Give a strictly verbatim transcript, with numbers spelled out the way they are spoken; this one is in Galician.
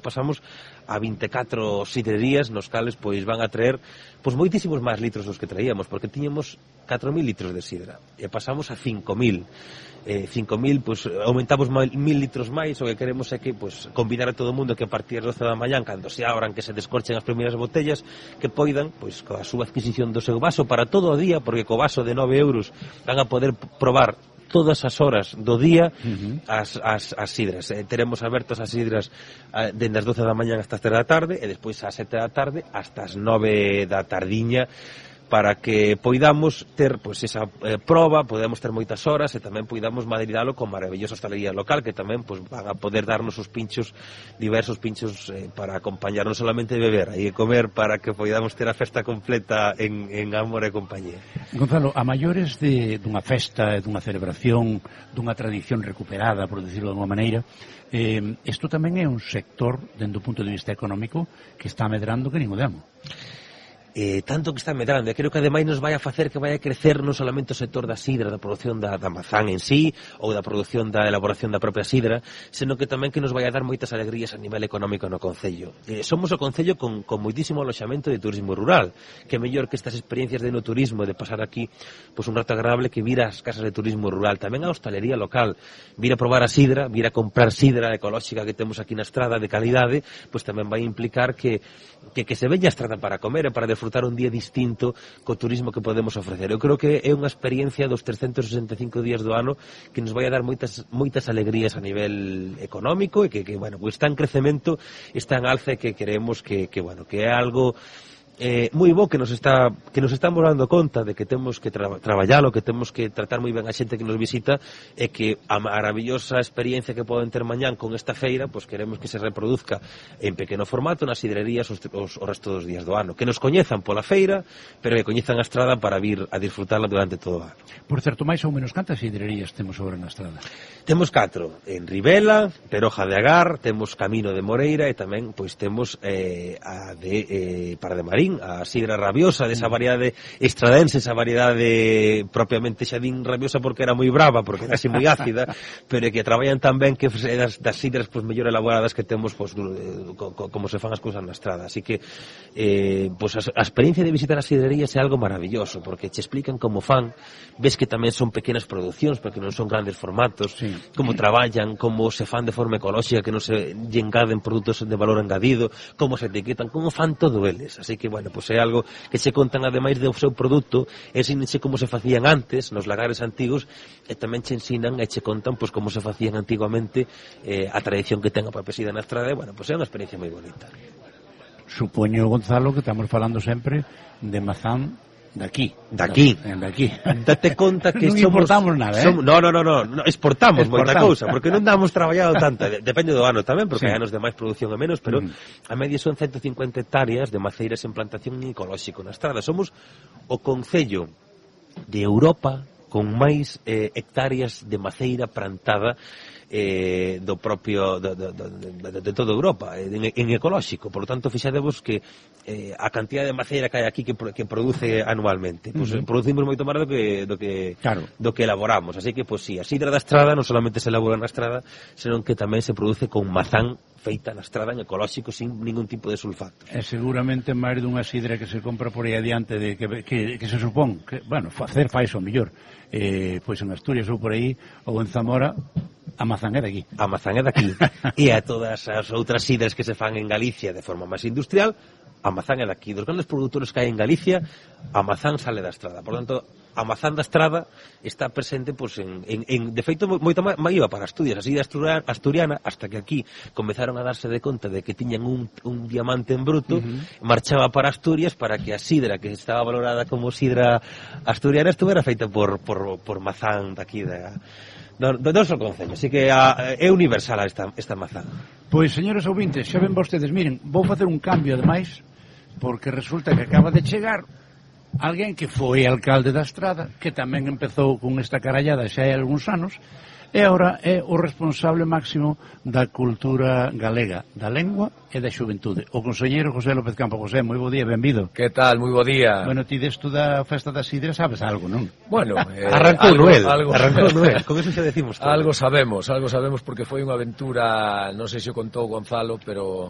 pasamos a vinte e catro sidrerías nos cales pois van a traer pois moitísimos máis litros dos que traíamos, porque tiñamos catro mil litros de sidra e pasamos a cinco mil. Eh, cinco mil, pois aumentamos mil litros máis. O que queremos é que pois convidar a todo o mundo que a partir das doce da mañán, cando se abran, que se descorchen as primeiras botellas, que poidan, pois coa súa adquisición do seu vaso para todo o día, porque co vaso de nove euros van a poder probar todas as horas do día uh-huh. as, as, as sidras. Eh, teremos abertos as sidras eh, dende as doce da mañán hasta as tres da tarde e despois ás sete da tarde hasta as nove da tardiña, para que poidamos ter pois esa eh, proba, podemos ter moitas horas e tamén poidamos madridalo con maravillosa hostalería local, que tamén pois van a poder darnos os pinchos, diversos pinchos eh, para acompañar, non solamente beber, aí comer, para que poidamos ter a festa completa en, en amor e compañía. Gonzalo, a maiores de, dunha festa, dunha celebración, dunha tradición recuperada, por decirlo de alguma maneira, eh, isto tamén é un sector, dentro do punto de vista económico, que está medrando que nin o demo. Eh, tanto que está medrando, e creo que ademais nos vai a facer que vai a crecer non solamente o sector da sidra, da produción da, da mazán en sí, ou da produción da elaboración da propia sidra, senón que tamén que nos vai a dar moitas alegrías a nivel económico no concello. Eh, somos o concello con, con moitísimo aloxamento de turismo rural, que mellor que estas experiencias de no turismo, de pasar aquí pues, un rato agradable, que vir as casas de turismo rural, tamén a hostalería local, vir a probar a sidra, vir a comprar sidra ecolóxica que temos aquí na estrada de calidade, pues tamén vai implicar que, que, que se veña a estrada para comer e para disfrutar un día distinto co turismo que podemos ofrecer. Eu creo que é unha experiencia dos trescentos sesenta e cinco días do ano que nos vai a dar moitas moitas alegrías a nivel económico e que, que bueno, pues está en crecemento, está en alza e que queremos que, que, bueno, que é algo eh, moi bo que nos está que nos estamos dando conta de que temos que tra traballalo, que temos que tratar moi ben a xente que nos visita e que a maravillosa experiencia que poden ter mañán con esta feira, pois pues queremos que se reproduzca en pequeno formato nas sidrerías os, os, o resto dos días do ano, que nos coñezan pola feira, pero que coñezan a estrada para vir a disfrutarla durante todo o ano. Por certo, máis ou menos cantas sidrerías temos agora na estrada? Temos catro, en Ribela, Peroja de Agar, temos Camino de Moreira e tamén pois temos eh, a de eh, Para de Marín, a sidra rabiosa, desa variedade estradense, esa variedade propiamente xa din rabiosa porque era moi brava, porque era así moi ácida, pero que traballan tan ben que é das, das sidras pues, mellor elaboradas que temos pues, co, co, como se fan as cousas na estrada. Así que eh, pues, a, a experiencia de visitar as sidrerías é algo maravilloso, porque che explican como fan, ves que tamén son pequenas producións, porque non son grandes formatos, sí. Como traballan, como se fan de forma ecolóxica, que non se lle engaden produtos de valor engadido, como se etiquetan, como fan todo eles. Así que, bueno, pois é algo que se contan ademais do seu produto, ensínense como se facían antes nos lagares antigos e tamén che ensinan e che contan pois como se facían antiguamente, eh, a tradición que ten a propia sida na estrada, e, bueno, pois é unha experiencia moi bonita. Supoño, Gonzalo, que estamos falando sempre de mazán daqui. Daqui. Daqui. Date conta que non somos... importamos nada, eh? Somos, no, no, no, no, no, exportamos, exportamos moita cousa, porque non damos traballado tanta, depende do ano tamén, porque sí. Hai anos de máis produción e menos, pero mm. a media son ciento cincuenta hectáreas de maceiras en plantación ecolóxico na estrada. Somos o concello de Europa con máis eh, hectáreas de maceira plantada eh, do propio de, de, de, de toda Europa en, en ecolóxico. Por lo tanto, fixadevos que eh, a cantidad de maceira que hai aquí que, que produce anualmente, pues, uh -huh. producimos moito máis do que do que claro. do que elaboramos. Así que, pues sí, a sidra da estrada non solamente se elabora na estrada, senón que tamén se produce con mazán feita na estrada en ecolóxico sin ningún tipo de sulfato. E seguramente máis dunha sidra que se compra por aí adiante de que, que, que se supón que, bueno, facer fais o mellor eh, pois en Asturias ou por aí ou en Zamora, a mazán é daqui. A mazán é daqui. E a todas as outras sidras que se fan en Galicia de forma máis industrial, a mazán é daqui. Dos grandes produtores que hai en Galicia, a mazán sale da estrada. Por tanto, a mazán da estrada está presente, pues, en, en, en de feito, moito máis iba para Asturias, así de asturiana, hasta que aquí comenzaron a darse de conta de que tiñan un, un diamante en bruto, uh -huh. marchaba para Asturias para que a sidra que estaba valorada como sidra asturiana estuvera feita por, por, por mazán daqui da... Do, do noso concello, así que a, é universal esta, esta mazán. Pois, señores ouvintes, xa ven vostedes, miren, vou facer un cambio ademais, porque resulta que acaba de chegar alguén que foi alcalde da Estrada, que tamén empezou con esta carallada xa hai algúns anos, e agora é o responsable máximo da cultura galega, da lengua e da xuventude. O conselleiro José López Campo. José, moi bo día, benvido. Que tal, moi bo día. Bueno, ti desto da festa da sidra sabes algo, non? Bueno, eh, arrancou algo, Noel, algo, arrancou Noel, con eso xa decimos todo. Algo sabemos, algo sabemos porque foi unha aventura, non sei se o contou Gonzalo, pero